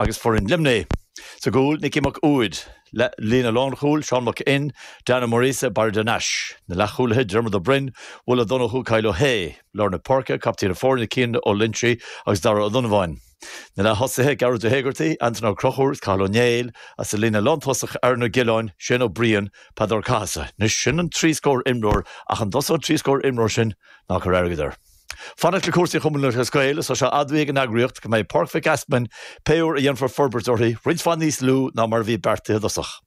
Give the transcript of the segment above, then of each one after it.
Agus foireann Luimnigh. Sa gcúl, Nicky Mac Uaid. Líne lánchúil, Seán Mac Fhinn, Dan Ó Muiríosa, Barry de Nais. Na leathchúlaithe, Diarmuid Ó Broin, Will Ó Donnchú, Kyle Ó hAodha. Lár na páirce, captaen na foirne, Cian Ó Loinsigh agus Dara Ó Donnabháin. Na leath-thosaithe, Gearóid Ó hÉigeartaigh, Antaine Ó Conchúir is Cathal Ó Néill, agus sa líne lántosach, Aaron Ó Giolláin, Shane Ó Briain, Peadar Ó Cathasaigh. Anois, sin an trí scór imreoir ach an dtosóidh an trí scór imreoir sin, ná cuir airgead air. Fanacht le cúrsaí Chumann Lúthchleas Gael, is tá sé admhaithe ag an eagraíocht go mbeidh Páirc Mhic Easmainn, pé uair a dhéanfar forbairt uirthi, roinnt mhaith níos lú ná mar a bhí beartaithe i dtosach.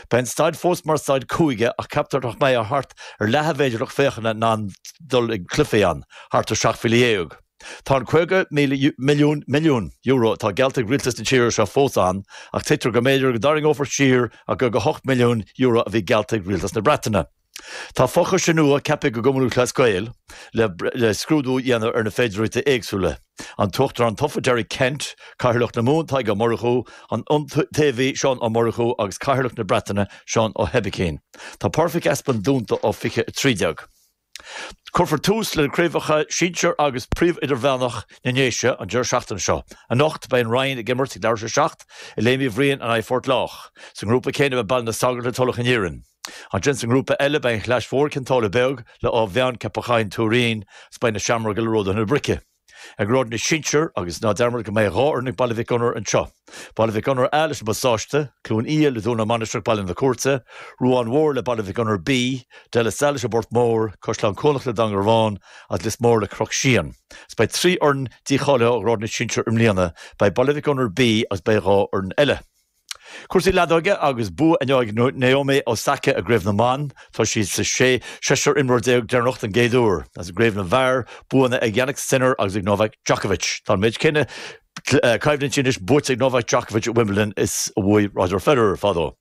Beidh an staid fós mar staid cúige ach ceaptar nach mbeidh ach thart ar leath a mhéid de lucht féachana in ann dul ag cluichí ann, thart ar 17,000. Tá an 50 milliún milliún euro atá geallta ag rialtas na tíre seo fós ann ach tuigtear go mb'fhéidir go dtarraingeofar siar an €58 milliún a bhí geallta ag rialtas na Breataine. Tá fochoiste nua ceaptha ag an gCumann Lúthchleas Gael le scrúdú a dhéanamh ar na féidearthachtaí éagsúla. An tUachtarán tofa Derek Kent, Cathaoirleach na Mumhan Tadhg Ó Murchú, an tIontaobhaí Seán Ó Murchú agus Cathaoirleach na Breataine Seán Ó hOibicín. Tá Páirc Mhic Easmainn dúnta ó 2013. Cuirfear tús le na craobhacha sinsir agus príomh-idirmheánach na nDéise an deireadh seachtaine seo. Anocht, beidh an Rinn ag imirt ag leathuair tar éis a 7 i Léim Uí Bhriain in aghaidh Phort Lách. Sa ngrúpa céanna beidh Baile na Sagart le Tulach an Iarainn. Ansin sa ngrúpa eile beidh an Chlais Mhór Cionn tSáile Beag le Áth Mheáin Ceapach Choinn Tuairín agus beidh na Seamróga le Ródaithe na Brice. I ngrád na sinsear agus ná dearmad go mbeidh 2 fhoireann ag Baile Mhic Gonair anseo. Baile Mhic Gonair A leis an bPasáiste, Cluain Fhia le Dún na Mainistreach Baile na Cúirte, Ruán Mhór le Baile Mhic Gonair B, De La Salle leis an bPort Mór, Caisleán Cuanach le Dangarván agus Lios Mór le Cnoc Síon. Agus beidh 3 fhoireann dícháilithe ó ghrád na sinsear i mbliana, beidh Baile Mhic Gonair B agus beidh 2 fhoireann eile. Cúrsaí leadóige agus bua inniu ag Naomi Osaka i gCraobh na mBan. Tá sí sa seisear imreoir deireanach den gcéad uair. Agus i gCraobh na bhFear, buanna ag Jannik Sinner agus ag Novak Djokovic. Tá an méid céanna coimhlintí anois buaite ag Novak Djokovic i Wimbledon is a bhuaigh Roger Federer fadó.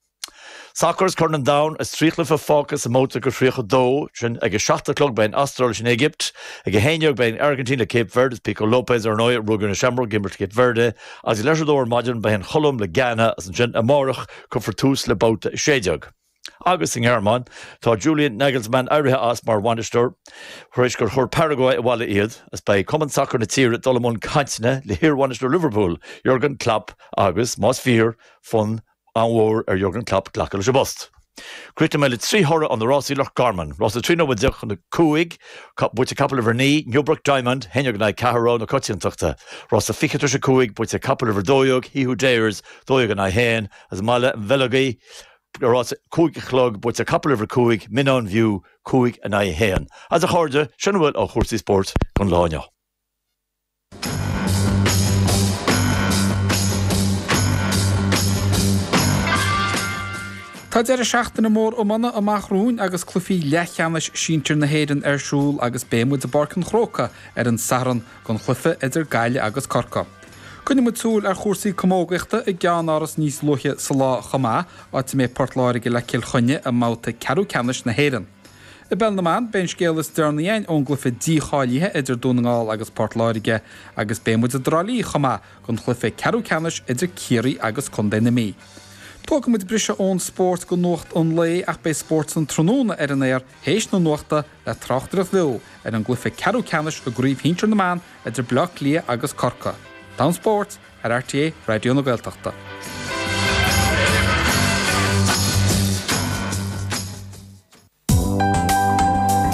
Sacar is Corn an Domhain is 3 chluiche fágtha sa mbabhta go 32. Sin ag a 7 a chlog beidh an Astráil leis an Éigipt. Ag a 11 beidh an Airgintín le Cape Verde is Pico Lopez ar ndóigh a ruaig ar na Seamróg ag imirt Cape Verde. Agus ag leathuair tar éis a dó ar maidin beidh an Cholóim le Ghana agus ansin amárach cuirfear tús le babhta 16. Agus sa nGearmáin tá Julian Nagelsmann éirithe as mar bhainisteoir tar éis gur chuir Paraguay abhaile iad agus beidh cumann sacair na tíre ag dul i mbun cainteanna le hiarbhainisteoir Liverpool, Jurgen Klopp agus, más fíor, fonn an-mhór ar Jurgen Klopp glacadh leis an bpost. Críochnóidh mé le 3 thoradh ó na rásaí Loch Garman. Rása 13 nóiméad chun a 5, buaite ag capall uimhir 9, Newbrook Diamond, 11 in aghaidh 4, rogha na coitiantachta. Rása 20 tar éis a 5, buaite ag capall uimhir 12, He Who Dares, 12 in aghaidh 1, agus i mBaile an Bheilg, rása 5 a chlog, buaite ag capall uimhir 5, Minaun View, 5 in aghaidh 1. Agus a chairde, sin a bhfuil ó chúrsaí spóirt don lá inniu. Tá deireadh seachtaine mór iomána amach romhainn agus cluichí leathcheannais sinsir na hÉireann ar siúl agus beidh muid i bPáirc an Chrócaigh ar an Satharn don chluiche idir Gaillimh agus Corcaigh. Coinneoidh muid súil ar chúrsaí camógaíochta i gceannáras níos luaithe sa lá chomh maith, áit a mbeidh Port Láirge le Cill Chainnigh i mbabhta ceathrú ceannais na hÉireann. I bPeil na mBan, beidh an scéal is deireanaí againn ón gcluiche dícháilithe idir Dún na nGall agus Port Láirge agus beidh muid i dTrá Lí chomh maith don chluiche ceathrú ceannais idir Ciarraí agus Contae na Mí. Tógfaidh muid briseadh ón spórt go nuacht an lae ach beidh Spórt san Tráthnóna ar an aer théis na nuachta le tráchtaireacht bheo ar an gcluiche ceathrú ceannais i gCraobh Shinsir na mBan idir Bleá Cliath agus Corcaigh. Domhan Spóirt ar RTÉ Raidió na Gaeltachta.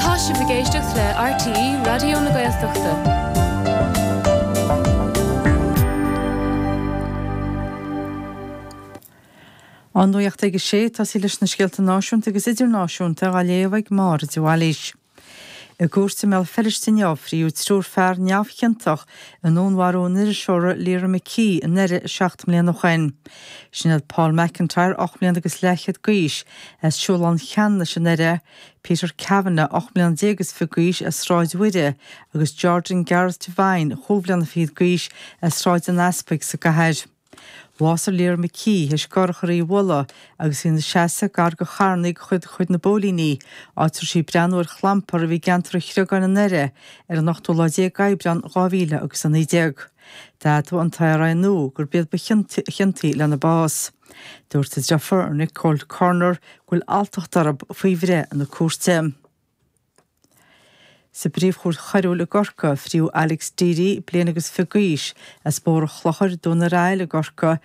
Tá sibh ag éisteacht le RTÉ Raidió na Gaeltachta. An nuacht ag a sé, tosaí leis na scéalta náisiúnta agus idirnáisiúnta á léamh ag Máire de Bhailís. I gcúirt i mBéal Feirste inniu, fríodh triúr fear neamhchiontach i ndúnmharú an iriseora Lyra McKee i nDoire 7 mbliana ó shin. Sin iad Paul McIntyre, 8 mbliana agus leathchéad d'aois, as Siúlán Cheanannais i nDoire, Peter Kavanagh, 18 mbliana is fiche d'aois, as Sráid Mhuire, agus Jordan Gareth Devine, chúig bhliana fichead d'aois, as Sráid an Easpaig sa gcathair. Bhásaigh Lyra McKee théis urchar í a bhualadh agus í ina seasamh gar do charrannaí de chuid chuid na bpóilíní, áit a raibh sí ag breathnú ar chlampar a bhí i gceantar an Chreagáin i nDoire ar an ochtú lá déag Aibreán 2000 agus 19. D'admhaigh an t-IRA nua gurb iad ba chiontaí lena bás. Dúirt a deirfiúr, Nicole Corner, go bhfuil alltacht orthu faoi bhreith na cúirte. Sa bPríomh-Chúirt Choiriúil i gCorcaigh, fríodh Alex Deery, bliain agus 20 d'aois, as Bóthar an Chlochair, Dún ar Aill i gCorcaigh.